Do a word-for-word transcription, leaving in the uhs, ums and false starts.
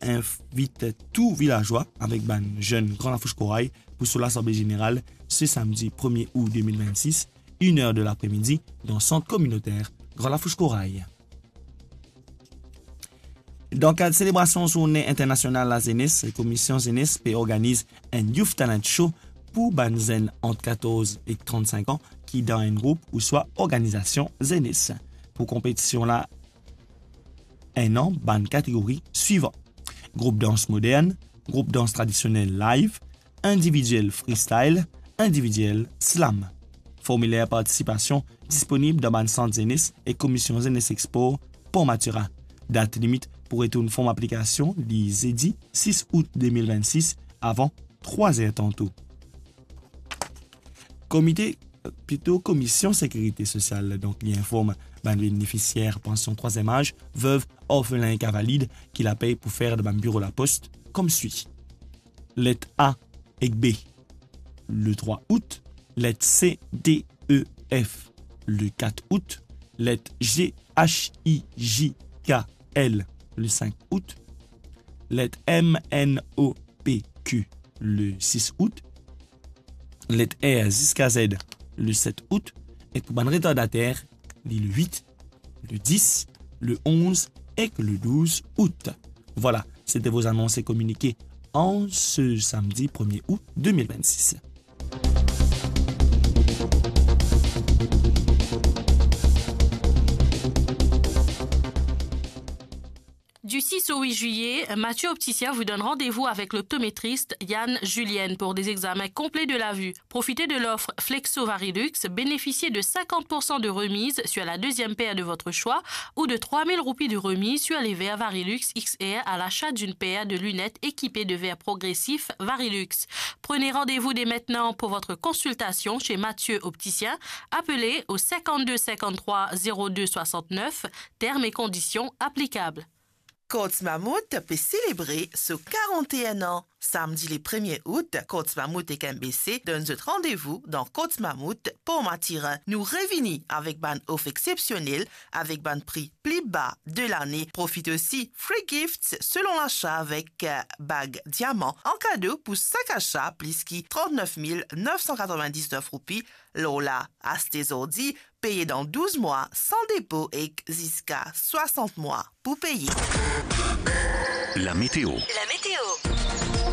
invit tou vilazwa avek bann zenn Gran Lafous Koray pou so lasanble zeneral se samdi premie out de mil vennsis, enn er de lapremidi, dan sant kominoter Gran Lafous Koray. Dan kad selebrasion Zourne Internasional Lazenes, Komisyon Zenes pe organiz enn Youth Talent Show pou bann zenn ant katorz ek trannsink an ki dan enn group ouswa organizasion zenes. Pou konpetision la, enn an bann kategori swivan: group dans modern, group dans tradisionel live, individiel freestyle, individiel slam. Formiler partisipasion disponib dan bann sant zenes ek Komisyon Zenes ek Spor Port Mathurin. Dat limit pou retourn form aplikasion li zedi sis out de mil vennsis avan trwa zer tanto. Komite, plito Komisyon Sekirite Sosial, donk, li inform bann benefisier pansion trwaziem az, vev, orfelin ek invalid ki lapey pou fer dan bann biro lapos koumsi: let A ek B, le trwa out, let C, D, E, F, le kat out, let G, H, I, J, K, L, le sink out, let M, N, O, P, Q, le sis out, let R ziska Z, le set out, ek pou bann retardater, li le wit, le dis, le onz ek le douz out. Voilà, c'était vos annonces et communiqués en ce samedi premier août deux mille vingt-six. Du six au huit juillet, Mathieu Opticien vous donne rendez-vous avec l'optométriste Yann Julienne pour des examens complets de la vue. Profitez de l'offre Flexo Varilux, bénéficiez de cinquante pour cent de remise sur la deuxième paire de votre choix ou de trois mille roupies de remise sur les verres Varilux X R à l'achat d'une paire de lunettes équipées de verres progressifs Varilux. Prenez rendez-vous dès maintenant pour votre consultation chez Mathieu Opticien. Appelez au cinquante-deux cinquante-trois zéro deux soixante-neuf, termes et conditions applicables. Courts Mammouth pe selebre so karant-enn an. Samdi le premie out, Courts Mammouth ek M B C donn zot randevou dan Courts Mammouth, Port Mathurin. Nou revini avek bann ofer exsepsionel, avek bann pri pli ba de lane. Profit osi free gifts selon lasa avek, eh, bag diaman an kado pou sak asa plis ki trant-nef mil nef san katrovin-diznef roupi. Lor la, aste zordi, peye dan douz mwa, san depo ek ziska swasant mwa pou peye. La météo. La météo.